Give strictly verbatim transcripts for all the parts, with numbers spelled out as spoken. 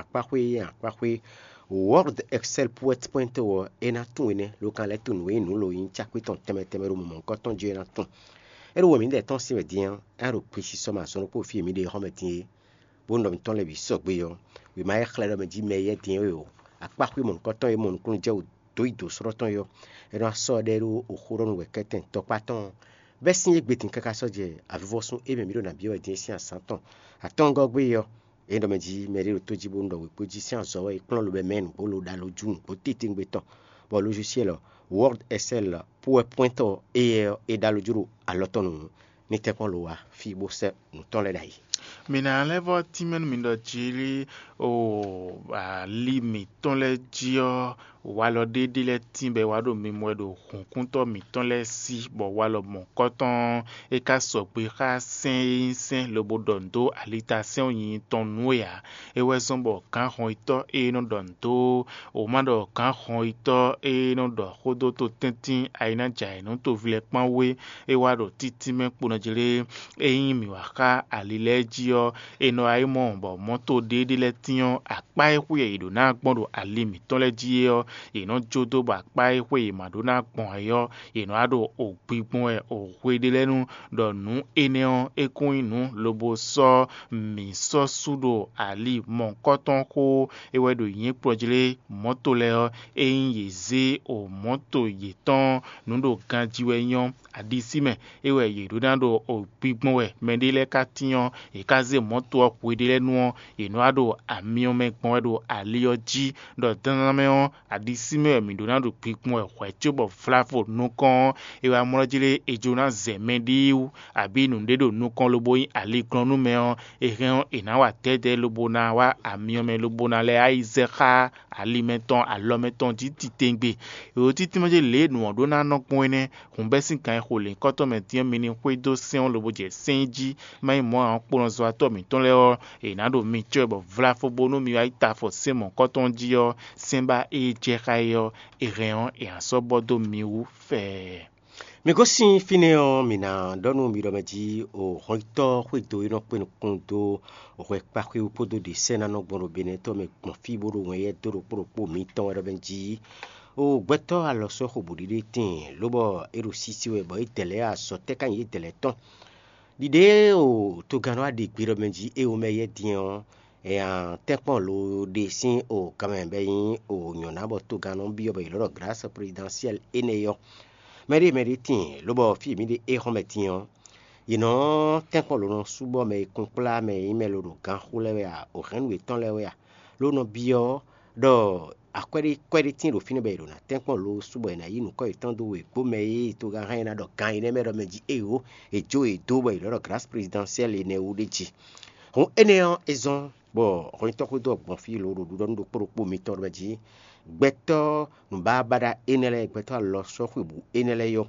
Akpáxwé e nyí akpáxwé Word Excel Poet Point ɔ́, é ná tunwun énɛ́, ló ka lɛ́ tunwun nǔ e nyí nǔ lo nyí cákpé tɔn tɛnmɛ tɛnmɛ ɖo mɔ̌hunkɔtɔn jí é ná tunwun. É ɖo wɛ mǐdɛɛ tɔn sín wɛ din ɔ́, é ná ɖo gbesisɔ mɛ azɔn ɖokpó fí e mǐ ɖe xɔ́mɛ din é, bó nɔ mǐtɔn lɛ́ɛ bǐ sɔgbe ɔ́, wěma e xlɛ́ ɖɔ mɛ jí mɛ éyɛ́ din é ɔ́, akpáxwé mɔ̌hunkɔtɔn e mɔ nukúnnú jɛ wǔ dó yi dǒ srɔ́ tɔn é ɔ́, é nɔ wá sɔ́ ɛ ɖɛ́ ɖó oxó ɖɔ nú wɛ̌kɛ́tɛn tɔkpá tɔn ɔ́. Bɛ́ sín égbé din káká sɔ́ jɛ avivɔsun e mɛ mǐ ɖo nǎ byɔ́ wɛ din é sín azǎn tɔn. Atɔ́ngɔ́ gbé ɔ́, é ɖɔ mɛ jí mɛɖé ɖo tó jí bónú ɖɔ wěkpó jí sín azɔ̌ wɛ é kplɔ́n lobo mɛ nǔgbó lo ɖo alo jú nǔgbó titewungbe tɔn, bɔ lójúsiɛ́lɔ Word Excel PowerPoint ɔ́, éyɛ́ ɔ́, é ɖó alɔ jú ɖo alɔ tɔn nǔ ní tɛ́nkpɔ́n lo wá fí bó sɛ́ nǔ tɔn lɛ́ɛ ɖ'ayǐ. Mi ná lɛ́ vɔ́ tínmɛ nú mi ɖɔ jí lí o ali mǐtɔn lɛ́ɛ jí ɔ́, walɔ ɖé ɖé lɛ́ɛ tín bɔ é wá ɖo mimɔ wɛ ɖo hǔnkúntɔ́ mǐtɔn lɛ́ɛ sí, bɔ walɔ mɔ̌hunkɔtɔn ɔ́, é ka sɔgbe xá sɛ́n e nyí sɛ́n lobo ɖɔ nǔ dó alitasɛ́n ɔ́ nyinyi tɔn nú é ǎ. É wɛ zɔ́n bɔ gǎnhɔnyitɔ́ e nɔ ɖɔ nǔ dó wǒ ma ɖɔ gǎnhɔnyitɔ́ e nɔ ɖɔ xó dó to tɛ́ntin ayinájɛ ayǐnútoví lɛ́ɛ kpán wú é, é wá ɖo títínmɛ kpo nɔ jlé. Ényí mǐ wá xá ali lɛ́ɛ jí ɔ́, è nɔ wá yi mɔ bɔ mɔ̌to ɖé ɖé lɛ́ɛ tín ɔ́, akpá e xwé yě ɖǒ ná gbɔn ɖo ali mǐtɔn lɛ́ɛ jí é ɔ́, yě nɔ jó dó bɔ akpá e xwé yě ma ɖó ná gbɔn ǎ é ɔ́, yě nɔ wá ɖo gbigbɔn wɛ hwe ɖé lɛ́ɛ nu, ɖɔ nǔ énɛ́ ɔ́, é kún nyí nǔ lobo sɔ́ mǐ sɔ́ sú ɖo ali mɔ̌hunkɔtɔn xó é wɛ ɖo nyǐkɔ jlé mɔ̌to lɛ́ɛ ɔ́, ényí yě zé o mɔ̌to yětɔn nǔ ɖo ganjí wɛ nyɔ́ aɖisí mɛ, é wɛ yě ɖó ná ɖo gbigbɔn wɛ mɛɖé lɛ́ɛ ka tyɔ́n, yě ka zé mɔ̌to ɔ́ hwe ɖé lɛ́ɛ nu ɔ́, yě nɔ wá ɖo amyɔ mɛ gbɔn wɛ ɖo ali ɔ́ jí, ɖɔ dandan mɛ ɔ́, aɖisí mɛ wɛ mǐ ɖó ná ɖo gbigbɔn wɛ hwɛ̌ cóbɔ vlavo nukɔn ɔ́, è wá mlɔ́ jí lé è jló ná zɛ mɛɖée wú, abǐ nǔɖé ɖo nukɔn lobo nyí aliglɔ́n nú mɛ ɔ́, è hɛn ɔ́, è nǎ wa dɛ̌dɛ̌ lobo ná wá amyɔ mɛ lobo ná lɛ́ wá yi zɛ xá ali mɛtɔn alɔ mɛtɔn jí titewungbe. È ɖǒ títínmɛ jí lě e nǔ ɔ́ ɖó ná nɔ gbɔn é nɛ́. Hǔn bɛ́ sín gan e xo lěhunkɔtɔn mɛ din ɔ́, mi ní xwedó sɛ́n ɔ́ lobo jɛ sɛ́n jí, má nyí mɔ̌ ǎ ɔ́, kponɔzɔ́watɔ́ mǐtɔn lɛ́ɛ ɔ́, è nǎ ɖo mi cɔ́ bɔ vlafo bónú mi wá yi ta afɔ sɛ́n mɔ̌hunkɔtɔn jí ɔ́, sɛ́n ba e jɛ xá é ɔ́, è hɛn ɔ́, è nǎ sɔ́ bɔ dó mi wú fɛɛ. Mi gosín fínɛ́ ɔ́, mǐ ná ɖɔ nú mi ɖɔ mɛ jí o hɔnnyitɔ́ xwédo e nɔ kpé nukún dó hwɛ kpáxwé wú kpódó ɖě sɛ́ ná nɔ gbɔn ɖo Benɛ́tɔ́ mɛ gbɔn fí bó ɖo wɛn yɛ́ dó ɖokpó ɖokpó mǐtɔn wɛ ɖɔ mɛ jí. O gbɛtɔ́ alɔ sɔ́ xo bǔɖiɖe tíin, lóbɔ é ɖo sísí wɛ bɔ é dɛ̌ lɛ́ɛ azɔ̌ tɛ́ ká nyí é dɛ̌ lɛ́ɛ tɔn. Ɖiɖe o togannɔ wá ɖi gbe ɖɔ mɛ jí é o mɛ yɛ́ din ɔ́, nya tɛ́nkpɔ́n lo ɖe sín o kanmɛ bɔ é nyí o nyɔ̌ná bɔ togannɔ byɔ́ bɔ è lɔ̌ ɖɔ Grâce Présidentielle énɛ́ ɔ́. Mɛɖé mɛɖé tíin, lobɔ fí e mǐ ɖe é xɔ́n mɛ din ɔ́, yě nɔ tɛ́nkpɔ́n lo nɔ sú bɔ mɛ e kunkplá mɛ e nyí mɛ lo ɖo gan xo lɛ́ɛ wɛ a, o hɛ̌nnu yětɔn lɛ́ɛ wɛ a, ló nɔ byɔ́ ɖɔ akwɛ́ ɖé kwɛ́ ɖé tíin ɖo fínɛ́ bɔ è ɖo ná tɛ́nkpɔ́n lo sú bɔ è nǎ yí nǔkɔ yětɔn dó wěgbó mɛ e togán hɛn ná ɖɔ gan énɛ́ mɛ ɖɔ mɛ jí éyǒ, è jó yě dó bɔ è lɔ̌ ɖɔ Grâce Présidentielle énɛ́ wú ɖé jí. Hǔn énɛ́ ɔ́, é zɔ́n bɔ hɔnnyitɔ́ xwedó ɔ́ gbɔn fí lo ɖo ɖiɖɔ nú ɖokpó ɖokpó mitɔn ɖɔ mɛ jí gbɛtɔ́ nǔbábáɖá énɛ́ lɛ́ɛ, gbɛtɔ́ alɔ sɔ́ xwebǔ énɛ́ lɛ́ɛ yɔ́.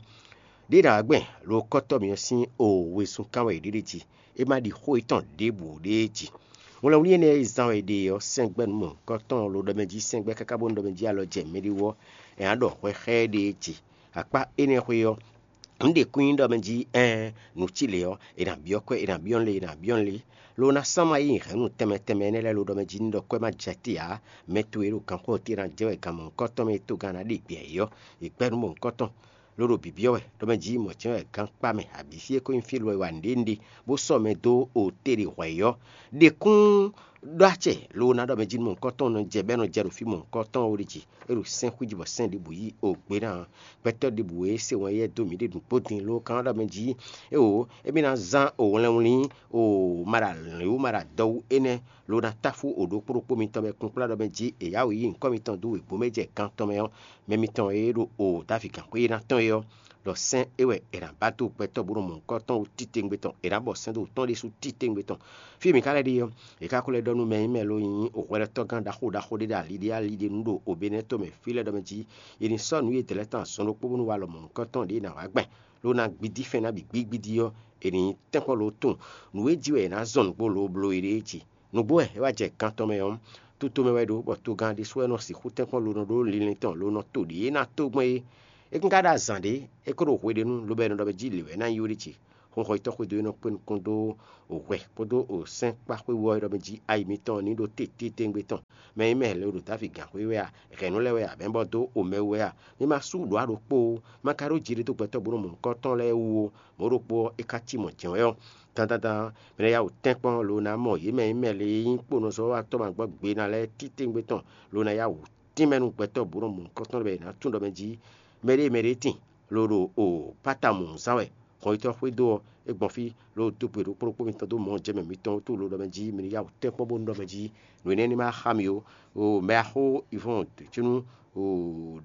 Ɖěe ɖě wǎ gbɛn lo kɔ́tɔ́ mǐ ɔ́ sín o wezun kán wɛ è ɖe ɖ'é jí; é má ɖi xó yětɔn ɖěbǔ ɖ'é jí. Wlɛnwlí énɛ́ e zán wɛ è ɖe ɔ́, sɛ́ngbɛ́ nǔ mɔ̌hunkɔtɔn lo ɖɔ mɛ jí sɛ́ngbɛ́ káká bónú ɖɔ mɛ jí alɔ jɛ mɛɖé wú ɔ́, è nǎ ɖɔ hwɛ xá ɛ ɖ'é jí. Akpá énɛ́ xwé ɔ́, nǔ ɖě kún nyí ɖɔ mɛ jí ɛɛn nǔ cí lě ɔ́, è nǎ byɔ́ kwɛ́, è nǎ byɔ́ nǔ lě, è nǎ byɔ́ nǔ lě. Lo ná sán má yí hɛ̌nnu tɛnmɛ tɛnmɛ énɛ́ lɛ́ɛ lo ɖɔ mɛ jí ní ɖɔ kwɛ́ má jɛ te ǎ. Mɛ towe e ɖo gankpɔ́ te ná jɛ wɛ gan mɔ̌hunkɔtɔn mɛ e togán ná ɖe gbě ayǐ ɔ́, è gbɛ́ nú mɔ̌hunkɔtɔn. Ló ɖo bǐbyɔ́ wɛ ɖɔ mɛ jí mɔ̌ jɛ́n wɛ gán kpá mɛ, abǐ fí e ko nyí fí lɔ e wa nǔɖé nǔɖé, bó sɔ́ mɛ dó o te ɖe hwɛ̌ ɔ́, ɖe kún ɖó acɛ lo ná ɖɔ mɛ jí nú mɔ̌hunkɔtɔn nɔ jɛ bɔ é nɔ jɛ ɖo fí mɔ̌hunkɔtɔn ó ɖi jí. É ɖo sɛ́n xwíji bɔ sɛ́n ɖěbǔ yí o gbé ná ɔ́, gbɛtɔ́ ɖěbǔ e se wɛn yɛ́ dó mǐ ɖe nǔgbó din ló kán ɖɔ mɛ jí, éwo, émí ná zán o wlɛnwlín o maɖa lǐnwú maɖa dɔwú énɛ́ lo ná táfú o ɖokpó ɖokpó mitɔn mɛ kplɔ́nkplɔ́n ɖɔ mɛ jí è yá wǔ yí nyǐkɔ mitɔn dó wěgbó mɛ jɛ gan tɔn mɛ ɔ́, mɛ mitɔn e ɖo o Davíd gǎnxwé ná tɔn é ɔ́, ɖɔ sɛ́n é wɛ è nǎ ba dó gbɛtɔ́ bó nɔ mɔ nǔkɔntɔn wú titewungbe tɔn; è nǎ bɔ sɛ́n dó wǔ tɔn ɖésú titewungbe tɔn. Fí e mǐ ka lɛ́ ɖe ɔ́, è ka ko lɛ́ ɖɔ nú mɛ e nyí mɛ lo nyí hwlɛ́tɔ́gán ɖaxó ɖaxó ɖé ɖo ali ɖé ali ɖé nu ɖo Obenɛ́tɔ́ mɛ fí lɛ́ɛ ɖɔ mɛ jí è nǐ sɔ́ nǔ e dɛ̌ lɛ́ɛ tɔn azɔn ɖokpó bónú walɔ mɔ nǔkɔntɔn ɖě è nǎ wá gbɛn, ló ná gbidí fɛ́n ná bǐ gbígbídí ɔ́, è nǐ nyí tɛ́nkpɔ́n lo tunwun nǔ e jí wɛ è nǎ zɔn nǔgbó lo bló éɖée jí. Nǔgbó wɛ é wá jɛ gan tɔn mɛ ɔ́, tutomɛ wɛ é ɖó, bɔ togán ɖésú wɛ nɔ sixú tɛ́nkpɔ́n lo nɔ ɖó linlin tɔn lo nɔ to ɖě e ná tó gbɔn é. É kún ka ɖo azǎn ɖé, é ko ɖo hweɖénu, lobo é nɔ ɖɔ mɛ jí lě wɛ é ná nyí ó ɖíe ce. Xóxɔyítɔ́ xwedó e nɔ kpé nukɔn dó hwɛ kpódó sɛ́nkpáxwé wú ɔ́ e ɖɔ mɛ jí ayi mitɔn ní ɖo tététéngbé tɔn. Mɛ e mɛ lě ɖo Davi gǎnxwé wɛ a, hɛ̌nnu lɛ́ɛ wɛ a, bɛ̌nbɔ́ dó omɛ wú wɛ a, mi ma sú ɖǒ a ɖokpó ó, ma ka ɖó jiɖe dó gbɛtɔ́ bó nɔ mɔ nukɔn tɔn lɛ́ɛ wú ó. Mɔ̌ ɖokpó ɔ́, é ka cí mɔ̌ jɛ́n wɛ ɔ́, dandandan mɛ lɛ́ɛ yá wǔ tɛ́nkpɔ́n lo ná mɔ yě mɛ e mɛ lě e nyí kponɔzɔ́watɔ́ ma gbɔ gbe ná lɛ́ɛ títewungbe tɔn lo ná yá wǔ tínmɛ nú gbɛtɔ́ bó nɔ mɔ nukɔn tɔn bɔ è nǎ tunwun ɖɔ mɛ jí mɛɖée mɛɖée tíin, lo ɖo o pátamǔ zán wɛ. Hɔnyitɔ́ xwedó ɔ́, é gbɔn fí, lo dó gbe ɖokpó ɖokpó mitɔn dó mɔ jɛ mɛ mitɔn wútu lo ɖɔ mɛ jí mi ní yá wǔ tɛ́nkpɔ́n bónú ɖɔ mɛ jí nǔ énɛ́ ní ma xá mi ó. O mɛ axó Ivɔ́n Dǒcúnú, o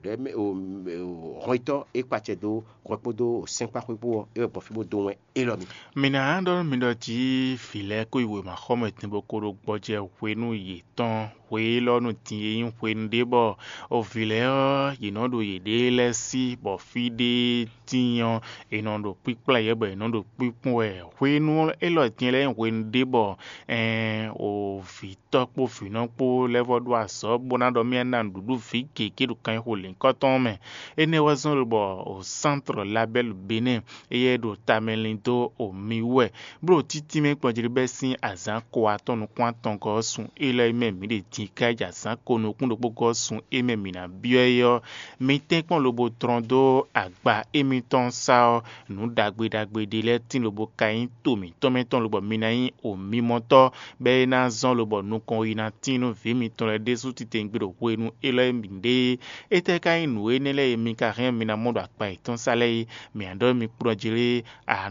ɖɛ̌ mɛ o hɔnyitɔ́ e kpa acɛ dó hwɛ kpódó sɛ́nkpáxwé kpó ɔ́, é wɛ gbɔn fí bó dó wɛn élɔ́ mi. Mi ná ɖɔ nú mi ɖɔ jí vǐ lɛ́ɛ ko yi wěmaxɔmɛ din bó ko ɖo gbɔjɛ hwenu yětɔn hwe élɔ́ nu din e nyí hwenu ɖé bɔ o vǐ lɛ́ɛ ɔ́, yě nɔ ɖo yěɖée lɛ́ɛ sí, bɔ fí ɖé tíin ɔ́, è nɔ ɖo kpíkplá yě bɔ yě nɔ ɖo kpíkpɔ́n wɛ. Hwenu élɔ́ din lɛ́ɛ nyí hwenu ɖé bɔ ɛɛn o vǐ tɔ́ kpó vǐnɔ kpó lɛ́ vɔ́ ɖó azɔ̌ bó ná ɖɔ mì ná nǔɖuɖu vǐ gěgé ɖo kanxixo lěhunkɔtɔn ɔ́ mɛ. Énɛ́ wɛ zɔ́n lobɔ o sántrɔ Labɛ́lu Benɛ́ɛ éyɛ́ ɖo tamɛ lin dó o mi wú wɛ, bó ɖo títínmɛ kplɔ́njlíbɛ́ sín azǎn ko atɔn nukún atɔngɔ́ ɔ́ sun élɔ́ e mɛ mǐ ɖe din kájí azǎn ko nukún ɖokpó gɔ́ sun e mɛ mǐ ná byɔ́ é ɔ́, mi tɛ́nkpɔ́n lobo tlɔ́n dó agba émítɔn sá ɔ́, nǔ ɖagbe ɖagbe ɖé lɛ́ɛ tíin lobo ka nyí to mǐtɔn mɛ tɔn lobɔ mi ná nyí omimɔtɔ́, bɔ é ná zɔ́n lobɔ nukɔn yi ná tíin nú vǐ mitɔn lɛ́ɛ ɖésú titewungbe ɖo hwenu élɔ́ e mǐ ɖe é. Étɛ́ ka nyí nǔ énɛ́ lɛ́ɛ e mi ka hɛn mi ná mɔ ɖo akpa yětɔn sá lɛ́ɛ é? Mǐ ná ɖɔ mi kplɔ́n jlé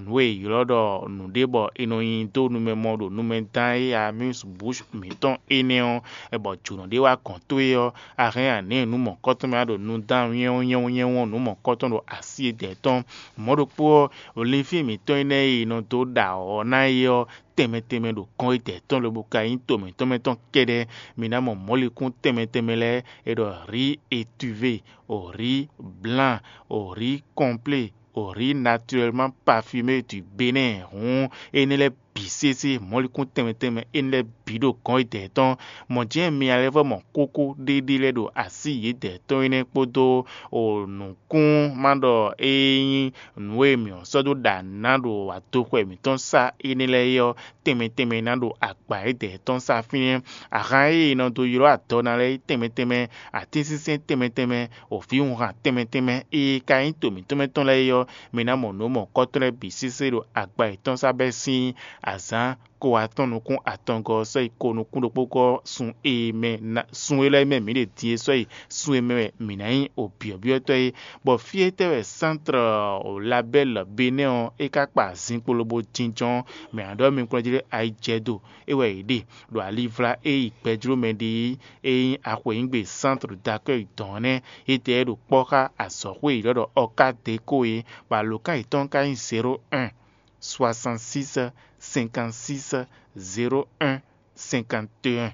nǔ e è ylɔ́ ɖɔ nǔɖé bɔ è nɔ nyi dó numɛ mɔ ɖo numɛ dán é amuse bouche mǐtɔn énɛ́ ɔ́, bɔ jǒnɔ ɖé wá gɔ̌n towe ɔ́, a hɛn a nǐ nǔ mɔ̌kɔtɔn mɛ wá ɖo nu dán nyɛ́wɔ́ nyɛ́wɔ́ nyɛ́wɔ́ nǔ mɔ̌kɔtɔn ɖo así e dɛ̌ tɔn. Mɔ̌ ɖokpó ɔ́, linfín mǐtɔn énɛ́ e è nɔ dó ɖa ɔ̌ ná é ɔ́, tɛnmɛ tɛnmɛ ɖo kɔn e dɛ̌ tɔn lobo ka nyí to mǐtɔn mɛ tɔn kɛ́ɖɛ́. Mi ná mɔ mɔ̌likún tɛnmɛ tɛnmɛ lɛ́ɛ, è ɖɔ riz étuvé, o riz blan, o riz kɔnplé, o riz naturellement parfumé du Bénin. Hǔn énɛ́ lɛ́ɛ bǐ sésé, mɔ̌likún tɛnmɛ tɛnmɛ énɛ́ lɛ́ɛ bǐ ɖo gɔ̌n e dɛ̌ tɔn. Mɔ̌ jɛ́n mi ná lɛ́ vɔ́ mɔ kókó ɖéɖé lɛ́ɛ ɖo así yědɛɛ tɔn énɛ́ kpódó o nǔkún ma ɖɔ é nyí nǔ e mǐ sɔ́ dó ɖa nǔ ná ɖo adoxɔ mǐtɔn sá énɛ́ lɛ́ɛ é ɔ́, tɛnmɛ tɛnmɛ ná ɖo agba yědɛɛ tɔn sá fínɛ́. Ahan e è nɔ dó ylɔ́ adɔ ná lɛ́ɛ é tɛnmɛ tɛnmɛ, atínsínsɛ́n tɛnmɛ tɛnmɛ, òvǐwunhan tɛnmɛ tɛnmɛ e ka nyí to mǐtɔn mɛ tɔn lɛ́ɛ é ɔ́, mi ná mɔ nǔ mɔ̌kɔtɔn lɛ́ɛ bǐ sésé ɖo agba yětɔn sá bɛ́ sín azǎn ko atɔn nukún atɔngɔ́ ɔ́ sɔ́ yi ko nukún ɖokpó gɔ́ sun e mɛ ná sun élɔ́ e mɛ mǐ ɖe din é sɔ́ yi sun e mɛ wɛ mǐ ná nyí obyɔ̌byɔ́tɔ́ é. Bɔ fí étɛ́ wɛ sántrɔ Labɛ́l Benɛ́ ɔ́ é ka kpa azinkpo lobo jínjɔ́n? Mɛ ǎ ɖɔ mi kplɔ́n jí ɖé ayijɛdo é wɛ yě ɖe ɖo alivlá e yi gbɛjló mɛ ɖe é, é nyí axweyǐngbe sántrɔ dakɔ́yi dɔ̌n ɔ́ nɛ́. Étɛ́ é ɖo kpɔ́ xá azɔ̌xwé yěɖɔ́ ɖɔ Ɔkadeko é, bɔ alǒkan yětɔn ka nyí zéro un soixante-six cinquante-six zéro un cinquante et un.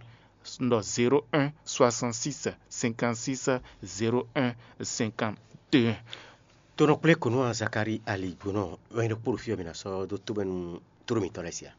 Un ɖɔ zéro un soixante-six cinquante-six zéro un cinquante et un. Tonɔ kplé kɔnú a Zakalíi aligbonɔ wɛ ɖokpó ɖo fí ɔ́ mi ná sɔ́ dó tóbɛ́nú tló mǐtɔn lɛ́ɛ sia.